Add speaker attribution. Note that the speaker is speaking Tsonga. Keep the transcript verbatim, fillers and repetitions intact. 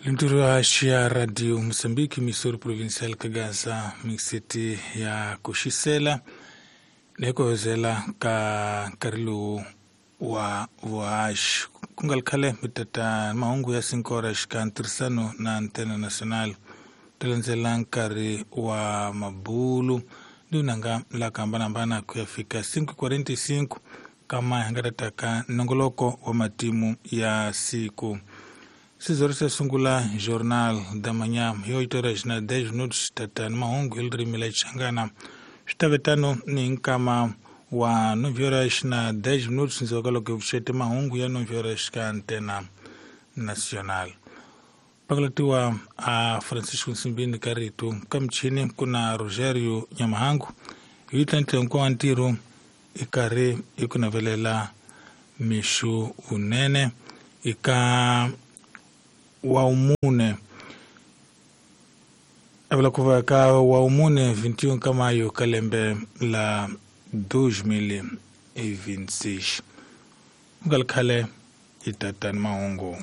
Speaker 1: Linturo ya Radio Mozambique, Missouri Provincial Kagaza, Mixity ya kuxisela ni ku hozela ka nkarhi lowu wa vuhaxi ku nga ri khale mi tata mahungu ya sinkora xikan'we ntirhisano na Antena National ta landzela nkarhi wa mabulu ni vunanga la ku hambanahambana ku ya fika cinco quarenta e cinco kama hi nga ta taka nongoloko wa matimu ya siku. Sizoro se sungula Jornal da Manhã hi oito horas na dez minutos tata ni mahungu hi ririmi la Xichangana. Swi ta ve tano ni nkama wa nove horas na dez minutos ndzhaku ka loko hi pfuxete mahungu ya nove horas ka Antena Nacional. Pakalatiwa a Francisco Nsimbini ka rito ka michini ku na Rogerio Nyamahangu hi tlantle hinkwawo wa ntirho i karhi i ku navelela mixo vunene eka wa umune avula ku va ka wa umune vinte e um ka maio ka lembe la dois mil e vinte e seis. Ku nga ri khale hi tatani mahungu.